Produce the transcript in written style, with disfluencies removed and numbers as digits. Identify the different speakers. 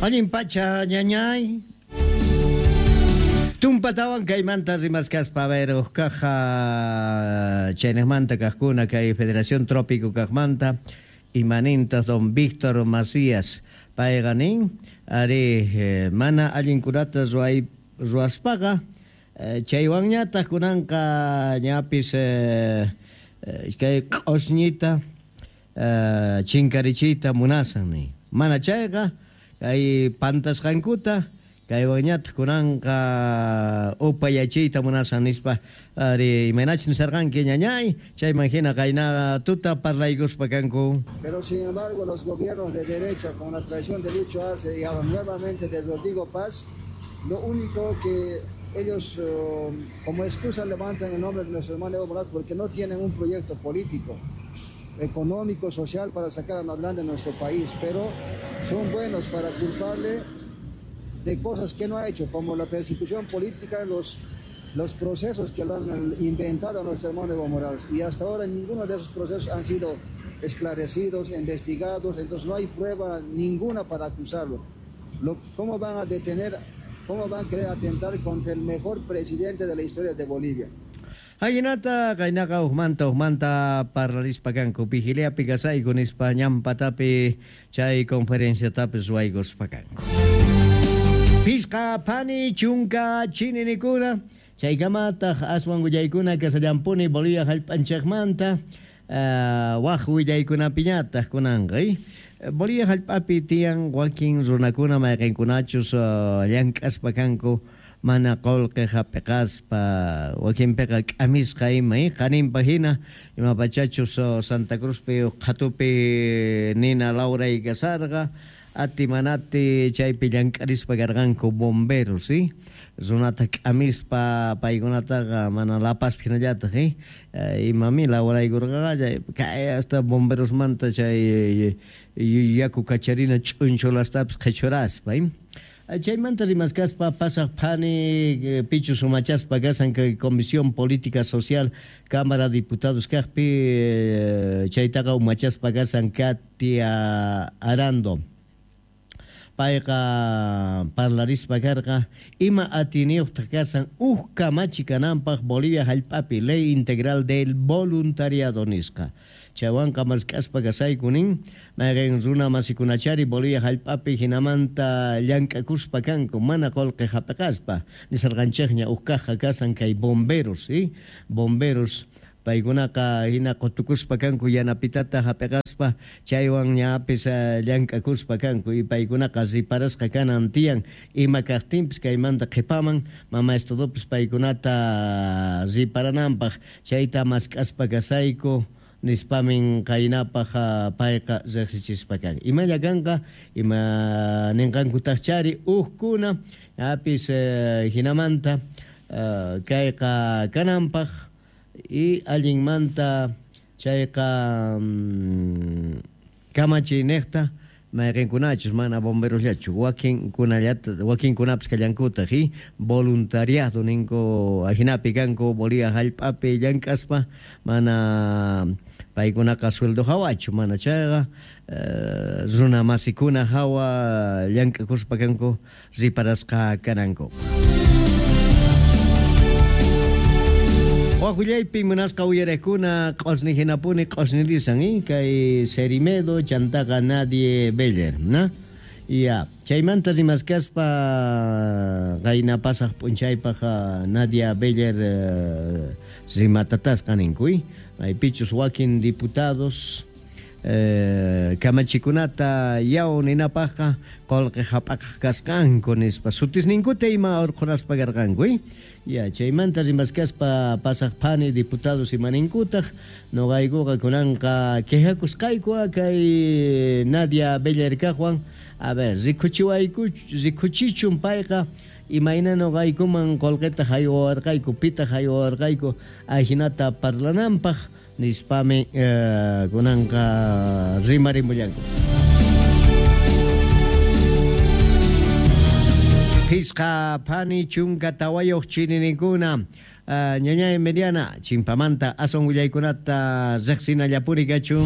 Speaker 1: Allin pacha, ñañay. Tumpatawan kaymanta rimaskaspa, a ver, uqkaqa chaynaqmanta kaqkuna kay Federación Trópico kaqmanta imanintas don Víctor Macías, payqa nin, ari, mana allinkunata ruay ruaspaqa chaywanñataq kunanqa ñapis kay q'usñita chinkarichiyta munasan nin, mana chayqa kay pantasqankuta kaywanñataq kunanqa upayachiyta munasan nispa, ari, imaynachus nisarqanki, ñañay, chayman hina qayna tuta parlaykuspa kanku.
Speaker 2: Pero sin embargo los gobiernos de derecha con la traición de Lucho Arce y ahora nuevamente de Rodrigo Paz, lo único que ellos como excusa levantan el nombre de nuestro hermano Evo Morales porque no tienen un proyecto político, económico, social para sacar adelante nuestro país, pero son buenos para culparle de cosas que no ha hecho, como la persecución política, los procesos que lo han inventado a nuestro hermano Evo Morales. Y hasta ahora ninguno de esos procesos han sido esclarecidos, investigados, entonces no hay prueba ninguna para acusarlo. ¿Cómo van a detener, cómo van a querer atentar contra el mejor presidente de la historia de Bolivia?
Speaker 1: Ajinata qaynaqa uqmanta uqmanta parlarispa kanku vigiliapi kasayku nispa ñampatapi chay conferenciatapis ruwaykuspa kanku. Pisqa phani chunka chininikuna chaykamataq aswan willaykuna kasallampuni Bolivia hallp'anchikmanta waq willaykunapiñataq kunanqa. Bolivia hallp'api tiyan wakin runakuna mayqinkunachus llank'aspa kanku mana qullqi hap'iqaspa wakinpiqa k'amisqa ima qaninpa hina ima pachachus Santa Cruzpi qhatupi nina lawray kasarqa ati manati chaypi llank'arispa karqanku bomberos runata k'amispa paykunataqa mana lapaspi hinallataq imami lawraykurqaqa kay hasta bomberosmanta chay yaku kacharina ch'unchulastapis qhichuraspa. Chaymanta rimaskaspa pasaq phani pichus umachaspa kasan kay Comisión Política Social Cámara de Diputados kaqpi chaytaqa umachaspa kasan Katia Arando. Payqa parlarispa karqa ima atiniyuqtaq kasan uj kamachi kananpaq Bolivia hallp'api Ley Integral del Voluntariado nisqa. Chaywanqa mask'aspa kasayku nin mayqin runa masikunachari Bolivia hallp'api hinamanta llank'akuspa kanku mana qullqi hap'iqaspa nisarqanchikña uj kaqqa kasan kay bomberos bomberos paykunaqa hina qutukuspa kanku yanapitata hap'iqaspa chaywan ñapis llank'akuspa kanku y paykunaqa riparasqa kanan tiyan ima kaqtinpis kaymanta qhipaman mama estadopis paykunata riparananpaq chayta mask'aspa kasayku nispamin qaynapaq payqa riqsichispa kan. Imalla kanqa ima ninqankutaqchari uqkuna ñapis hinamanta kayqa kananpaq y allinmanta chayqa kamachiyniyta mayqinkunachus mana bomberosllachu wakinkunallata wakinkunapis kallankutaq voluntariado ninku ajinapi kanku Bolivia hallp'api llank'aspa mana paykunaqa sueldo hawachu mana chayqa runa masikuna hawa llank'akuspa kanku riparasqa kananku. Waqllaypi munasqa uyariqkuna q'usni hinapuni q'usnilisan kay Cerimedo chantaqa Nadie Beller, ¿no? Ya, chaymanta rimaskaspa qayna pasaq p'unchaypaq Nadia Beller rimatatasqa ninku, maypichus wakin diputados kamachikunata yaw ninapaqqa qullqi hap'aqaq kasqanku nispa sutisninkuta ima urqhuraspa karqanku. Ya, chaymanta rimaskaspa pasaq phani diputados imaninkutaq nuqaykuqa kunanqa quejakusqayku kay Nadia Beller kaqwan a ver rikuchiwayku rikuchichun payqa imayna nuqaykuman qullqita haywarqayku pitaq haywarqayku ajinata parlananpaq nispami kunanqa rimarimullanku. Pisqa phani chunka tawayuq chininikuna ñañay Mediana chimpamanta aswan willaykunata riqsinallapuri kachun.